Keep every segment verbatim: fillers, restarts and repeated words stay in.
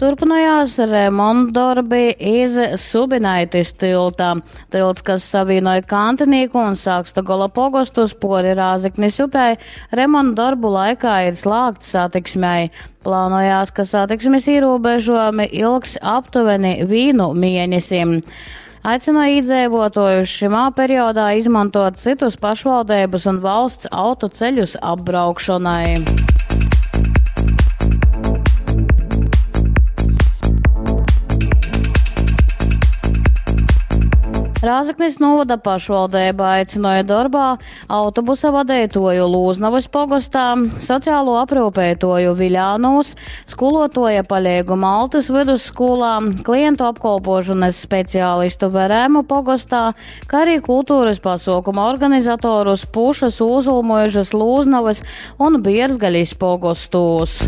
Turpinājās remontdarbi iz Subinaitis tilta. Tilts, kas savienoja Kantinīku un Sakstagola pogostus pori Rāzeknis upei, remontdarbu laikā ir slēgts satiksmei. Plānojās, ka satiksmes ierobežojumi ilgs aptuveni vīnu mēnesim. Aicināja iedzīvotājus šimā periodā izmantot citus pašvaldības un valsts autoceļus apbraukšanai. Rāzaknis novada pašvaldība aicināja darbā autobusa vadītoju Lūznavas pogostā, sociālo aprūpētoju Viļānūs, skolotoja palīgu Maltas vidusskolā, klientu apkolpošanas speciālistu Verēmu pogostā, kā arī kultūras pasaukuma organizatorus Pušas, Ūzulmuižas, Lūznavas un Bierzgaļas pogostos.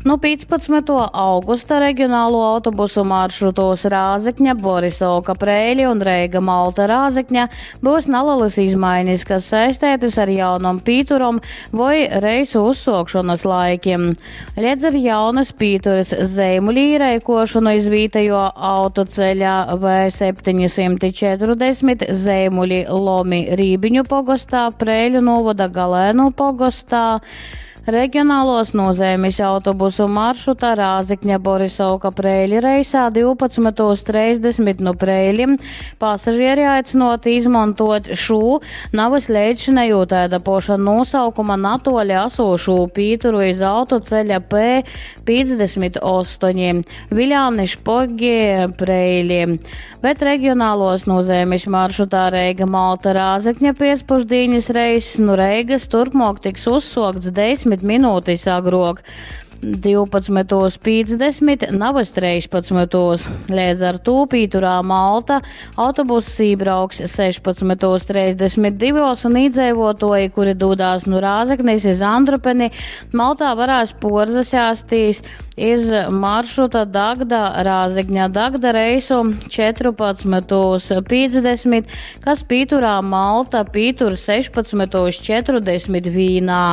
Nu piecpadsmito augusta reģionālo autobusu maršrutos Rāzekņa, Borisovka, Preili un Reiga Malta Rāzekņa būs nelielas izmaiņas, kas saistētas ar jaunom pīturom vai reisu uzsokšanas laikiem. Liedz ar jaunas pīturas Zeimuļi īreikošanu iz vītējo autoceļa V septiņi četrdesmit Zeimuļi Lomi Rībiņu pogostā, Preiļu novada Galēnu pogostā. Reģionālos nozīmes autobusu maršruta Rāzekņa Borisovka Preili reisā divpadsmitos trīsdesmit no Preiļiem pasažieri aicinoti izmantot šo navas leidzšinējo tāda poša nosaukuma natoļa esošo pīturu iz autoceļa P piecdesmit astoņi Viļāni Špogi Preili. Bet reģionālos nozīmes maršrutā Reiga Malta Rāzekņa piecpušdienas reiss no Reigas turpmāk tiks uzsokts desmit minūtes agrāk. divpadsmitos piecdesmit, navas trīspadsmitos. Līdz ar to pīturā Malta autobuss ībrauks sešpadsmitos trīsdesmit divos un iedzīvotoji, kuri dodās no Rāzeknis iz Andrupeni, Maltā varēs porzasēstīs iz maršruta Dagda Rāzekņa Dagda reisu četrpadsmitos piecdesmit, kas pīturā Malta pītur sešpadsmitos četrdesmit vīnā.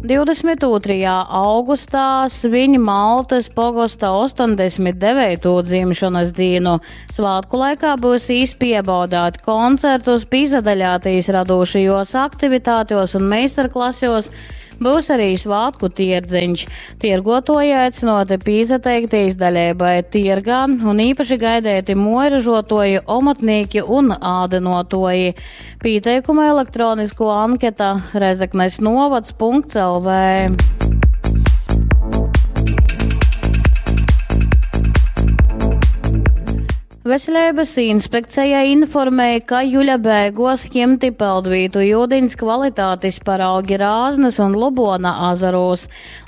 divdesmit otrajā augustā svin Maltas pogosta astoņdesmit devīto dzimšanas dienu. Svētku laikā būs īspiebaudāt koncertus, pīzadaļātīs radošajos aktivitātēs un meistarklasos. Būs arī svētku tirdziņš. Tirgotoji aicinoti pīzateiktīs daļēbai tirgā un īpaši gaidēti mojražotoji, omotnīki un ādenotoji. Pieteikuma elektronisko anketa Rezeknes novads punkts L V. Veselības inspekcija informēja, ka juļa beigos ņemti peldvītu ūdens kvalitātes paraugi Rāznas un Lubona azaros.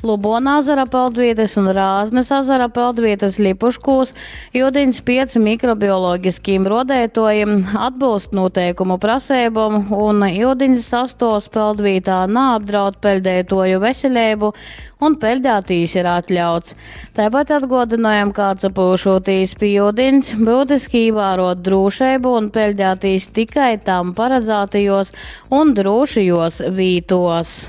Lubona azara peldvietas un Rāznas azara peldvietas Lipuškūs ūdens piec mikrobioloģiskiem rodētojiem atbilst noteikumu prasībām un ūdens sastovs peldvītā neapdraud peldētoju veselību un peldētīs ir atļauts. Tāpat atgodinājam, kā atpūšoties pie ūdens, būtiski ievērot drošību un peldētīs tikai tam paredzētajos un drošajos vītos.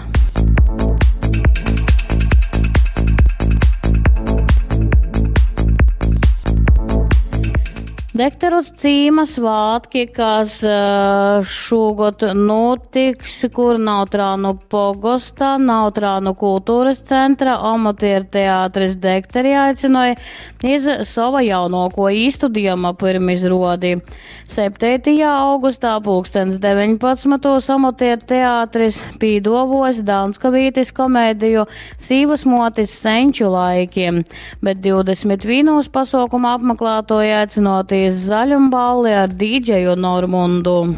Dekteru cīma svātki, kas, eh, šogad notiks, kur Nautrānu pogosta, Nautrānu kultūras centra, amatieru teātris Dekteri aicināja iz sava jaunāko īstudījuma pirmizrodi. Septītajā augustā pulkstens deviņpadsmitos amatieru teātris pīdovos Danskavītis komēdiju Sīvas motis senču laikiem, bet divdesmit vienos pasaukuma apmeklētoji aicinoties zaļumballi ar dīdžeju Normundu.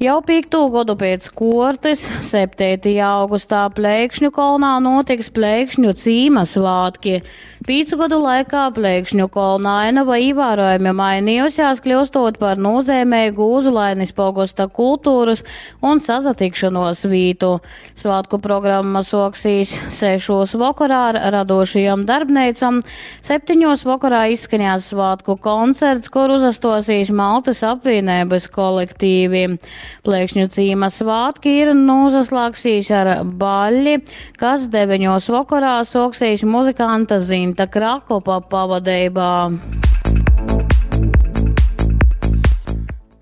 Jau piekto gadu pēc kortes, septītajā augustā Plēkšņu kolnā notiks Plēkšņu cīma svātki. Pīcu godu laikā Plēkšņu kolna ainava ievērojami mainījusies, kļūstot par nozīmīgu Ūzulainis pogosta kultūras un sasatikšanos vītu. Svātku programma soksīs sešos vakarā ar radošajām darbneicām, septiņos vakarā izskanēs svātku koncerts, kur uzastosīs Maltas apvienības kolektīvi. Plēkšņu cīma svātki ir nozaslāgsīs ar baļļi, kas deviņos vakarā soksīs muzikanta Zinta Krakopa pavadībā.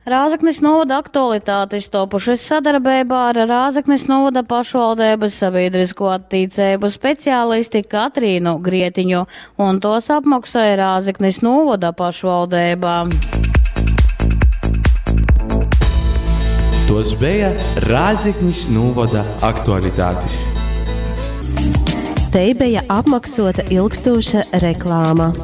Rāzaknis novada aktualitātes topušas sadarbībā ar Rāzaknis novada pašvaldības sabiedrisko attīcību speciālisti Katrīnu Grietiņu, un tos apmaksāja Rāzaknis novada pašvaldība. Tos bija Rāzaknis novada aktualitātes. Te bija apmaksota ilgstoša reklāma.